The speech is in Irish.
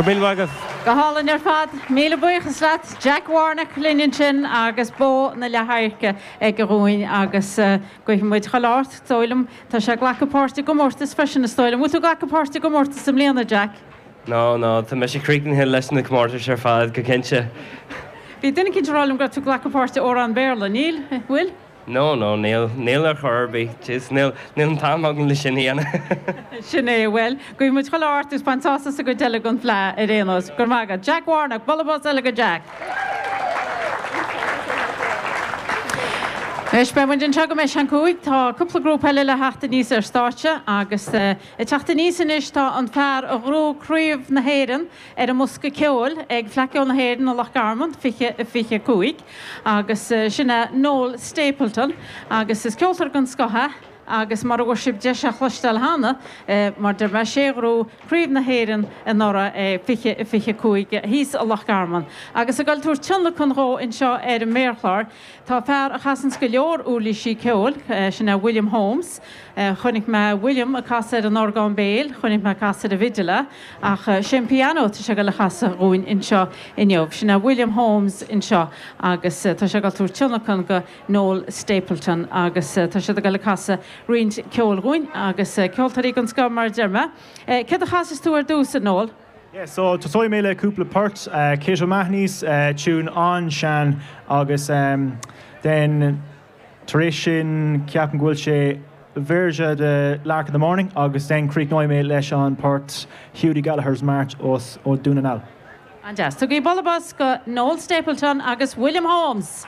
Go raibh míle maith agat. Go hálainn ar fad. Míle buíochas leat. Jack Warnock linn ansin agus bó na leathadhairce aige dhúinn agus guífidh muid chuile ádh ort, is dóigh liom. Tá sé ag glacadh páirt i gcomórtas freisin is dóigh liom. Bhfuil tú ag glacadh páirt i gcomórtas i mbliana, Jack? No, no, tá mise críochnaithe leis na comórtais ar fad, go cinnte. Bhí duine eicínt ag rá liom go raibh tú ag glacadh páirt i amhrán Béarla, níl? Bhfuil? No, no, níl, níl ar chor ar bith. Jeez, níl, níl an t-am agam le sin a dhéanamh. Sin é, bhuel, guífidh muid chuile ádh ort agus bain sásamh as an gcuid eile den Fleadh ar aon nós. Go raibh maith agat. Jack Warnock, bualadh bos eile go Jack. Anois, beidh muid anseo go mbeidh sé an 5. Tá cúpla grúpa eile le theacht aníos ar stáitse agus ag teacht aníos anois tá an fear a ghnóthaigh Craobh na hÉireann ar an mbosca ceoil ag Fleadh Cheoil na hÉireann i Loch Garman, 20, 25, agus sin é Noel Stapleton agus is ceoltóir den scoth é agus mar a bhfuair sibh deis a chloisteáil cheana, mar deir mé, sé a ghnóthaigh Craobh na hÉireann anuraidh, 20, 25, thíos i Loch Garman. Agus ag dul tabhairt tionlacan dhó anseo ar an méarchlár, tá fear a chasanns go leor uirlísí ceoil, sin é William Holmes. Chonaic mé William ag casadh ar an orgán béil, chonaic mé ag casadh ar an bhfidil é, ach sé an pianó atá sé ag dul a chasadh dhúinn anseo inniu. Sin é William Holmes anseo agus tá sé ag dul tabhairt tionlacan go Noel Stapleton agus tá siad ag dul a casadh roinnt ceoil dhúinn agus ceoltóirí den scoth mar a deir mé. Céard a chasfas tú ar dtús, a Noel? Yeah, so tosóidh mé le cúpla port, Kate O'Mahony's, tune an-sean agus then Tar éis sin, ceapaim go bhfuil sé véarsa de Lark in the Morning agus then críochnóidh mé leis an port Hughie Gallagher's March os ó Dún na nGall. An-deas. Tugaigí bualadh bos go Noel Stapleton agus William Holmes!